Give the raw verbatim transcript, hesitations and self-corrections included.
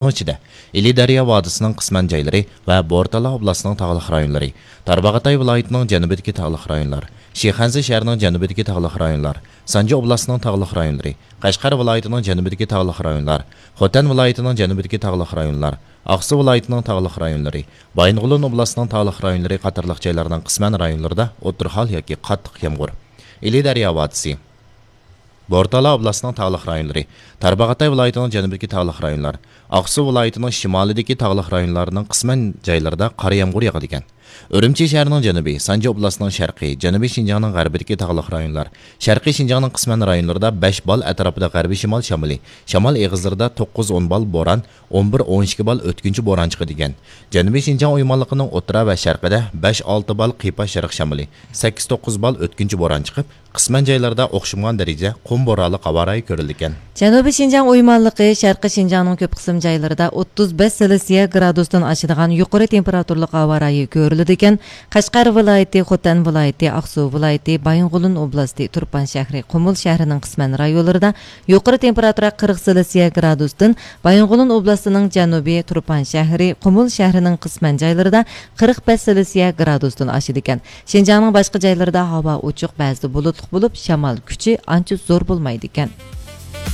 ئىچىدە ئىلى دەريا ۋادىسىنىڭ قىسمەن جايلىرى ۋە بورتالا ئوبلاستىنىڭ تاغلىق رايونلىرى، تارباغاتاي ۋىلايىتىنىڭ جەنۇبىدىكى تاغلىق رايونلار، شىخەنزە شەھىرىنىڭ جەنۇبىدىكى تاغلىق رايونلار، سانجى ئوبلاستىنىڭ تاغلىق رايونلىرى، قەشقەر ۋىلايىتىنىڭ جەنۇبىدىكى تاغلىق رايونلار، خوتەن ۋىلايىتىنىڭ جەنۇبىدىكى تاغلىق رايونلار، ئاقسۇ ۋىلايىتىنىڭ تاغلىق رايونلىرى، بايىنغولىن ئوبلاستىنىڭ تاغلىق رايونلىرى قاتارلىق جايلارنىڭ قىسمەن رايونلىرىدا ئوتتۇرا ھال ياكى قاتتىق يامغۇر. ئىلى دەريا ۋادىسى. بورتالا ئوبلاستىنىڭ تاغلىق رايونلىرى، تارباغاتاي ۋىلايىتىنىڭ جەنۇبىدىكى تاغلىق رايونلار، ئاقسۇ ۋىلايىتىنىڭ شىمالىدىكى تاغلىق رايونلارنىڭ قىسمەن جايلىرىدا قارا يامغۇر ياغىدىكەن. ئۈرۈمچى شەھىرىنىڭ جەنۇبى، سانجى ئوبلاستىنىڭ شەرقى، جەنۇبىي شىنجاڭنىڭ غەربىدىكى تاغلىق رايونلار، شەرقىي شىنجاڭنىڭ قىسمەن رايونلىرىدا بەش بال ئەتراپىدا غەربىي شىمال شامىلى، شامال ئېغىزلىرىدا توققۇز ئون بال بوران، ئون بىر ئون ئىككى بال ئۆتكۈنچى بوران چىقىدىكەن. جەنۇبىي شىنجاڭ ئويمانلىقىنىڭ ئوتتۇرا ۋە شەرقىدە بەش ئالتە بال قىيپاش شەرق شامىلى، سەككىز توققۇز بال ئۆتكۈنچى بوران چىقىپ، قىسمەن جايلاردا ئوخشىمىغان دەرىجىدە قۇم بورانلىق ھاۋا رايى كۆرۈلىدىكەن. جەنۇبىي شىنجاڭ ئويمانلىقى شەرقىي شىنجاڭنىڭ كۆپ قىسىم جايلىرىدا ئوتتۇز بەش سېلسىيە گرادۇستىن ئاشىدىغان يۇقىرى تېمپېراتۇرىلىق ھاۋا رايى كۆرۈلىدىكەن. قەشقەر ۋىلايىتى، خوتەن ۋىلايىتى، ئاقسۇ ۋىلايىتى، بايىنغولىن ئوبلاستى، تۇرپان شەھىرى، قۇمۇل شەھىرىنىڭ قىسمەن رايونلىرىدا يۇقىرى تېمپېراتۇرا قىرىق سېلسىيە گرادۇستىن، بايىنغولىن ئوبلاستىنىڭ جەنۇبى، تۇرپان شەھىرى، قۇمۇل شەھىرىنىڭ قىسمەن جايلىرىدا قىرىق بەش سېلسىيە گرادۇستىن ئاشىدىكەن. شىنجاڭنىڭ باشقا جايلىرىدا ھاۋا ئوچۇق، بەزىدە بۇلۇتلۇق بولۇپ، شامال كۈچى ئانچە زور بولمايدىكەن.